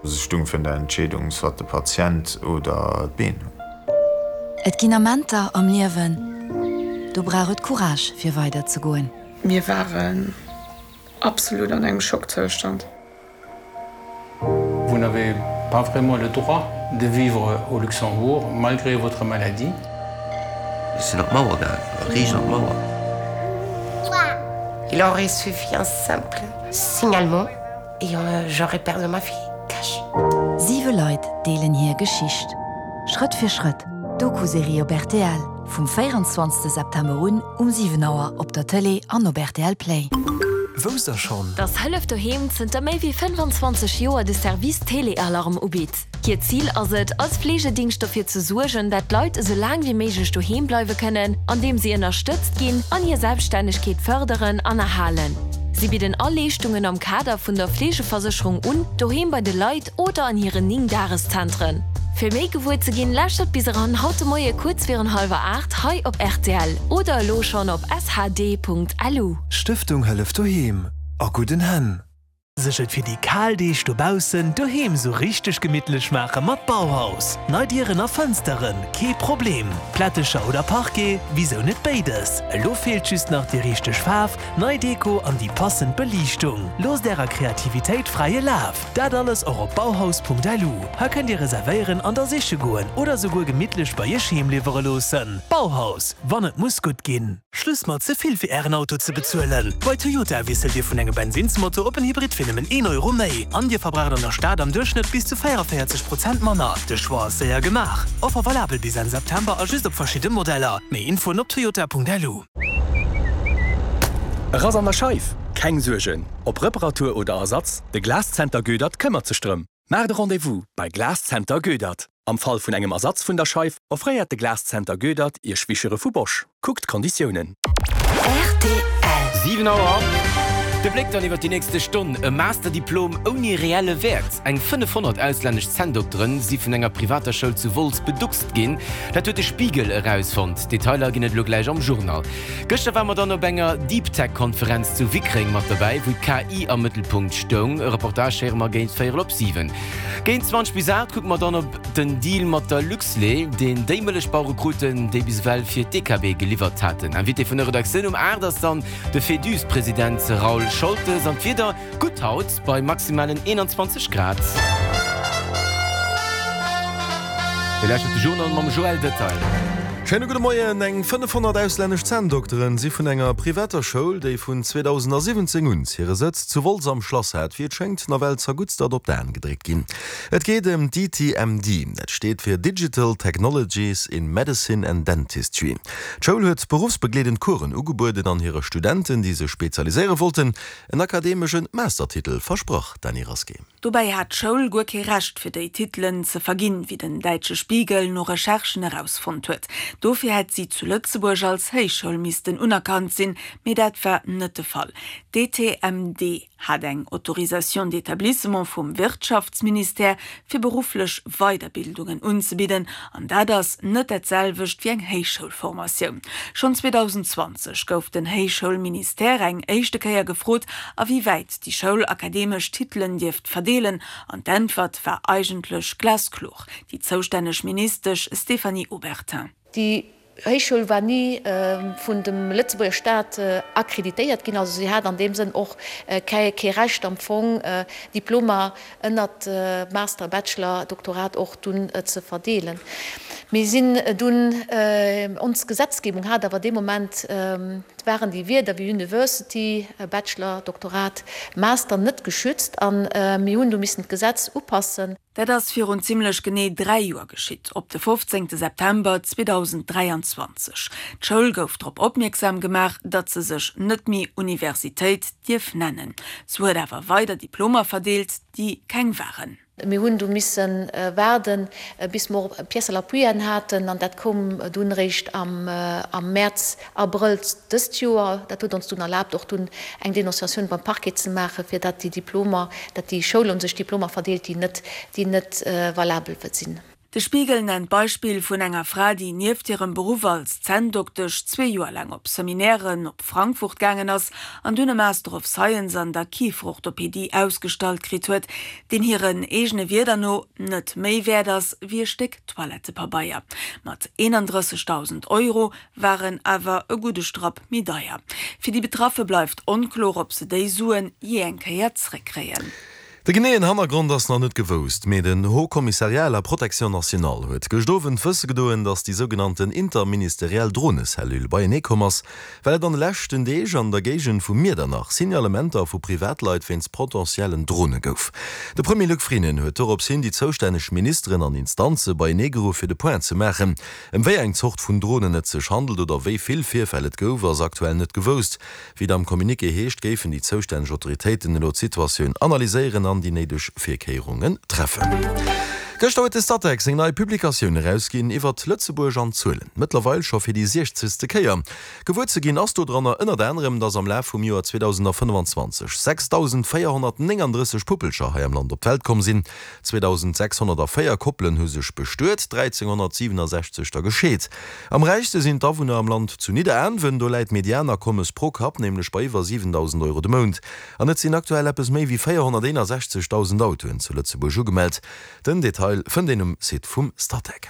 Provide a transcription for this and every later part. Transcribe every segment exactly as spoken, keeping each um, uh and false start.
Se stung vun der Entscheedung, soit de Patient oder d'Been. Et ginn Amenter am Liewen, do brauch et Courage fir weider ze goen. Mir waren absolut an engem Schockzoustand. Vous n'avez pas vraiment le droit de vivre au Luxembourg malgré votre maladie. Ech sinn op d'Mauer gaangen, riicht an d'Mauer. Il aurait suffi un simple signalement et j'aurais perdu ma fille cash. Siwe Leit deelen hir Geschicht. Schrëtt fir Schrëtt, Doku-Serie op rtl, vum véierenzwanzegste September un um siwen Auer op der Tëlee an op rtl Play. Wousst der schonn? Dass Hëllef Doheem zënter méi wéi fënnefanzwanzeg Joer de Service Téléalarme ubitt? Hiert Zil ass et, als Fleegedingscht dofir ze suergen, dat d'Leit esou laang wéi méiglech doheem bleiwe kënnen, andeem si ënnerstëtzt ginn an hir Selbststännegkeet fërderen an erhalen. Si bidden all Leeschtungen am Kader vun der Fleegeversécherung un, doheem bei de Leit oder an hiren néng Dageszentren. Fir méi gewuer ze ginn, lauschtert bis eran haut de Moie kuerz virun hallwer aacht hei op rtl oder elo schonn op shd.lu. Stëftung Hëllef Doheem, a gudden Hänn! Sech et fir déi kal Deeg dobaussen doheem sou richteg gemittlech maache mat Bauhaus. Nei Dieren a Fënsteren, kee Problem. Plättecher oder Parquet, wisou net béides? Elo feelt just nach déi richteg Faarf, nei Deko an déi passend Beliichtung. Loosst ärer Kreativitéit fräie Laf! Dat alles och op bauhaus.lu. Hei kënnt dir reservéieren an da siche goen oder souguer gemittlech bei iech heem liwwere loossen. Bauhaus, wann et muss gutt ginn. Schluss mat ze vill fir ären Auto ze bezuelen! Bei Toyota wiesselt dir vun engem Bensinnsmotor op en Hybrid fir nëmmen een Euro méi. An dir verbraucht an der Stad am Duerchschnëtt bis zu véierundavéierzeg Prozent manner. De Choix ass séier gemaach. Offer valabel bis Enn September a just op verschidde Modeller. Méi Infoen op toyota.lu. E Rass an der Scheif? Keng Suergen! Ob Reparatur oder Ersatz, de Glascenter Goedert këmmert sech drëm. Maacht e Rendez-vous bei Glascenter Goedert. Am Fall vun engem Ersatz vun der Scheif offréiert de Glascenter Goedert Iech Wischere vu Bosch. Kuckt d'Konditiounen. Rtl. Siwen Auer. De Bléck dann iwwer déi nächste Stonn, E Masterdiplom ouni reelle Wäert? Eng fënnefhonnert auslännesch Zänndokteren si vun enger privater Schoul zu Wolz beduckst ginn. Dat huet de Spiegel erausfonnt. Detailer ginn et elo gläich am Journal. Gëschter ware mer dann op enger Deep-Tech-Konferenz zu Wickreng mat dobäi, wou d'K I am Mëttelpunkt stoung. E Reportage héiere mer géint véierel op siwen. Géint zwanzeg bis aacht kucke mer dann op den Deal mat der Luxlait, deen déi Mëllechbauere kruten, déi bis ewell fir d'D K B geliwwert haten. Invité vun der Redaktioun um aacht ass dann de Féduse-President Raoul Scholtes. An d'Wieder, gutt haut bei maximalen eenanzwanzeg Grad. Dir lauschtert de Journal mam Joël Detail. Schéine gudde Moien. Eng fënnefhonnert auslännesch Zänndokteren si vun enger privater Schoul, déi vun zweedausendasiwwenzéng un hire Sëtz zu Wolz am Schlass hat, wéi et schéngt, nawell zerguttstert op d'Aen gedréckt ginn. Et geet ëm d'D T M D, dat steet fir Digital Technologies in Medicine and Dentistry. D'Schoul huet beruffsbegleedend Coursen ugebueden an hire Studenten, déi sech spezialiséiere wollten, en akademesche Mastertitel versprach. Dany Rasqué. Dobäi hat d'Schoul guer kee Recht fir déi Titelen ze verginn, wéi den däitsche Spiegel no Recherchen erausfonnt huet. Dofir hätt si zu Lëtzebuerg als Héichschoul missten unerkannt sinn, mee dat war net de Fall. D T M D hat eng Autorisation d'établissement vum Wirtschaftsministère fir berufflech Weiderbildungen unzebidden, an dat ass net dat selwecht wéi eng Héichschoulformatioun. Schonn zweedausendzwanzeg gouf den Héichschoulministère eng éischte Kéier gefrot, a wéi wäit déi Schoul akademesch Titelen dierft verdeelen, an d'Äntwert war eigentlech glaskloer. Déi zoustänneg Ministesch Stéphanie Obertin. Déi Héichschoul war ni vun dem Lëtzebuerger Staat akkreditéiert ginn, also si hat an deem Sënn och kee Recht am Fong Diplomer ënnert Master, Bachelor, Doktorat och dunn ze verdeelen. Mir sinn dunn, ons Gesetzgebung hat awer dee Moment, waren déi Wierder wéi University, Bachelor, Doktorat, Master net geschützt a mir hunn du missen d'Gesetz upassen. Dat ass virun zimmlech genee dräi Joer geschitt, op de fofzéngte September zweedausenddräianzwanzeg. D'Schoul gouf drop opmierksam gemaach, datt se sech net méi Universitéit dierf nennen. Se huet awer weider Diplomer verdeelt, déi keng waren. Mir hunn du misse waarden, bis mer Pièces à l'appui haten, an dat koum dunn réischt am am Mäerz, Abrëll dëst Joer. Dat huet ons dunn erlaabt, och dunn eng Denonciatioun beim Parquet ze maachen, fir datt déi Diplomer, datt déi Schoul u sech Diplomer verdeelt, déi net déi net valabel sinn. De Spiegel nennt d'Beispill vun enger Fra, déi nieft hirem Beruff als Zänndoktesch zwee Joer laang op Seminairen op Frankfurt gaangen ass an dunn e Master of Science an der Kieferorthopedie ausgestallt kritt huet, deen hiren eegene Wierder no net méi wäert ass wéi e Stéck Toilettepabeier. Mat eenandrëssegdausend Euro war en awer e gudde Strapp méi deier. Fir déi Betraffe bleift onkloer, ob se déi Suen jee eng Kéier zréckkréien. De geneeën Hannergrond ass nach net gewousst, mee den Haut Commissariat à la protection nationale huet gëscht Owend wësse gedoen, datt déi sougenannten interministeriell Dronecellule beienee komm ass, well et an de leschten Deeg an der Géigend vu Miedernach Signalementer vu Privatleit wéinst potentiellen Drone gouf. De Premier Luc Frieden huet dorops hin déi zoustänneg Ministeren an Instanze beienee geruff fir de Point ze maachen. Ëm wéi eng Zort vun Dronen et sech handelt oder wéi vill Virfäll et gouf, ass aktuell net gewousst. Wéi et am Communiqué heescht, géifen déi zoustänneg Autoritéiten elo d'Situatioun analyséieren an déi néideg Virkéierungen treffen. Gëschter huet de Statec seng nei Publikatioun erausginn iwwert Lëtzebuerg an Zuelen. Mëttlerweil scho fir déi siechzegste Kéier. Gewuer ze ginn ass dodranner ënnert anerem, dass am Laf vum Joer zweedausendafënnefenzwanzeg sechsdausendvéierhonnertnénganddrësseg Puppelcher hei am Land op d'Welt komm sinn. zweedausendsechshonnertavéier Koppelen hu sech bestuet, dräizénghonnertsiwwenasechzeg der gescheet. Am räichste sinn d'Awunner am Land zu Nidderaanwen, do läit d'Medianakommes pro Kapp nämlech bei iwwer siwendausend Euro de Mount. An et sinn aktuell eppes méi wéi véierhonnerteenasechzegdausend Autoen zu Lëtzebuerg ugemellt. Den Detail fënnt een um Site vum Statec.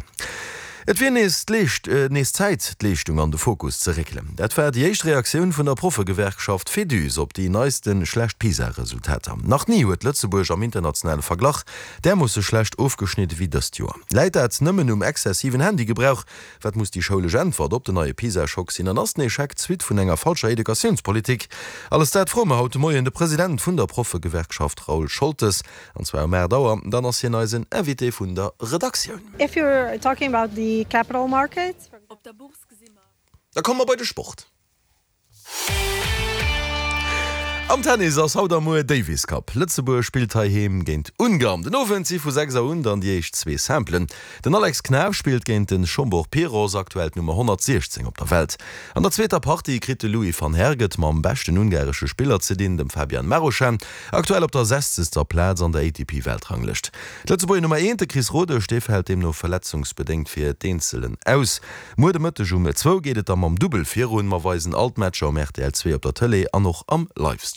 Et wier nees d'Leescht, nees Zäit, d'Leeschtung an de Fokus ze réckelen. Dat war déi éischt Reaktioun vun der Proffegewerkschaft Féduse op déi neiste schlecht PISA-Resultater. Nach ni huet Lëtzebuerg am internationale Verglach därmoosse schlecht ofgeschnidde wéi dëst Joer. Läit dat nëmmen um exzessiven Handygebrauch? Wat muss déi schoulesch Äntwert op den neie PISA-Schock sinn? An ass den Echec d'Suite vun enger falscher Educatiounspolitik? Alles dat froe mer haut de Moien de President vun der Proffegewerkschaft Raoul Scholtes, an zwar um aacht Auer. Dann ass hien eisen Invité vun der Redaktioun. If you're talking about the capital markets. Da komme mer bei de Sport. Am Tennis ass haut a muer Davis Cup. Lëtzebuerg spillt heiheem géint Ungarn. Den Owend si vu sechs Auer un dann déi éischt zwee Simplen. Den Alex Knaff spillt géint de Zsombor Piros, aktuell d'Nummer honnertsiechzéng op der Welt. An der zweeter Partie kritt de Louis van Herck et mam beschten ungaresche Spiller ze dinn, dem Fabian Marozsan, aktuell op der sechzegster Plaz an der A T P-Weltranglëscht. D'Lëtzebuerger Nummer eent, de Chris Rodesch, dee fält deemno verletzungsbedéngt fir d'Eenzelen aus. Muer de Mëtteg um zwou geet et da mam Dubbel virun. Mer weisen all d'Matcher um R T L zwee op der Tëlee an och am Livestream.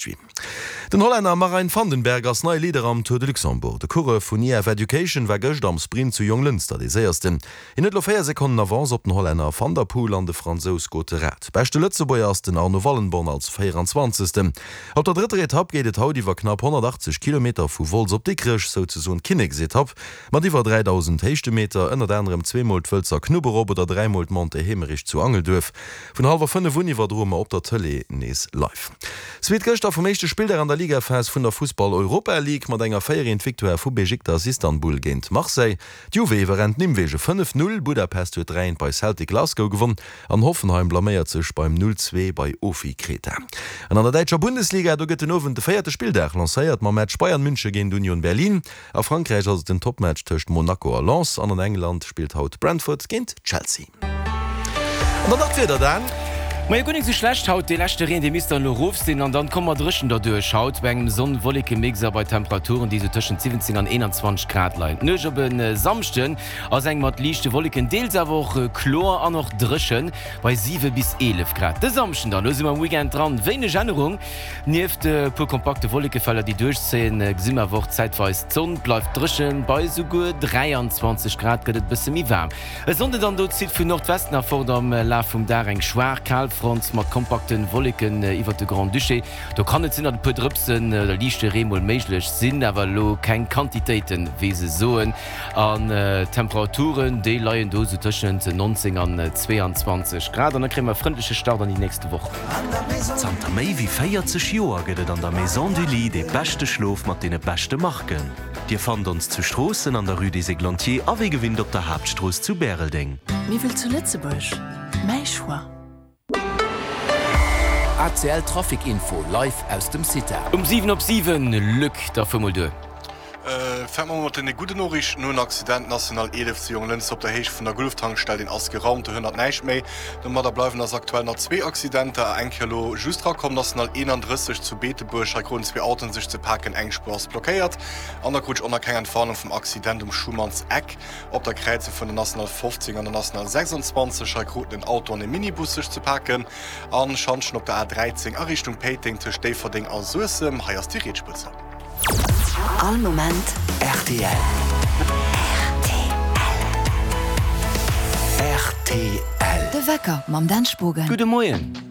Den Hollänner Marijn Vandenberg ass neie Leader am Tour de Luxembourg. De Coureur vun E F Education war gëscht am Sprint zu Jonglënster dee Séiersten. Hien huet elo véier Sekonnen Avance op den Hollänner Van der Poel an de Fransous Gottérat. Beschte Lëtzebuerger ass den Arno Wallenborn als véieranzwanzegsten. Op der drëtter Etapp geet et haut iwwer knapp honnertachtzeg Kilometer vu Wolz op Dikrech, souzesoen d'Kinneksetapp mat iwwer dräidausend Héichtemeter, ënnert anerem zweemol d'Wëlzer Knupp erop oder dräimol d'Montée Heemerich zu Angelduerf. Vun hallwer fënnef un iwwerdroe mer op der Tëlee nees live. Suite gëschter vum éischte Spilldag an der Ligaphas vun der Fussball-Europa League mat enger véier eent Victoire vu Besiktas Istanbul géint Marseille. D'Juve iwwerrennt Nimwegen fënnef null, Budapest huet dräi eent bei Celtic Glasgow gewonn an Hoffenheim blaméiert sech beim null zwee bei Ofi Kreta. An an der däitscher Bundesliga, do gëtt den Owend de véierte Spilldag lancéiert mam Match Bayern München géint Union Berlin. A Frankräich ass et den Topmatch tëscht Monaco a Lens an an England spillt haut Brentford géint Chelsea. An dann nach d'Wieder, Dan. Majo, guer nik sou schlecht haut, dee leschte Reen dee misst dann elo rof sinn an dann komme mer dréchen derduerch. Haut bei engem Sonn-Wolleke-Mix a bei Temperaturen déi sou tëschent siwwenzéng an eenanzwanzeg Grad leien. D'Nuecht op e Samschden ass eng mat liichte Wolleken, deels awer och kloer an och dréchen bei siwe bis eelef Grad. De Samschden dann, elo si mer am Weekend dran, wéineg Ännerung. Nieft e puer kompakte Wollekefeller déi duerchzéien, gesi mer awer och zäitweis d'Sonn. Bleift dréchen, bei souguer dräianzwanzeg Grad gëtt et bësse méi waarm. E Sonnde dann, do zitt vun Nordwesten erfort am Laf vum Dag eng schwaach Kalfront mat kompakte Wolleken iwwert de Grand-Duché. Do kann et sinn, datt e puer Drëpsen oder liichte Ree mol méiglech sinn, awer elo keng Quantitéiten, wéi se soen. An d'Temperaturen, déi leien do sou tëschent neunzéng an zweeanzwanzeg Grad. An da kréie mer e frëndleche Start an déi nächste Woch. Zanter méi wéi véierzeg Joer gëtt et an der Maison du Lit dee beschte Schlof mat deene beschte Marken. Dir fannt ons zu Stroossen an der Rue des Églantiers a wéi gewinnt op der Haaptstrooss zu Bäreldeng. Miwwel zu Lëtzebuerg, Mäi Choix. A C L Trafic Info live aus dem CITA. Um siwen op siwen, Luc, da fuer mol duer. Fänke mer mat deene gudden Noriichten un, Accident National eelef zu Jonglënster op der Héicht vun der Gulftankstell, deen ass geraumt, do hënnert näischt méi. Domadder bleiwen eis aktuell nach zwee Accidenter, eng Kéier elo just rakomm, National eenandrësseg zu Beetebuerg, hei kruten zwee Autoen sech ze paken, eng Spuer ass blockéiert. An da krut ech och nach keng Entwarnung vum Accident um Schumann's Eck op der Kräizung vun der National fofzéng an der National sechsundzwanzeg, hei kruten en Auto an e Minibus sech ze paken. An Schantjen op der A dräizéng a Richtung Péiteng tëscht Déifferdeng a Suessem, hei ass déi riets Spuer zou. All Moment rtl. Rtl. De Wecker mam Dan Spogen. Gudde Moien.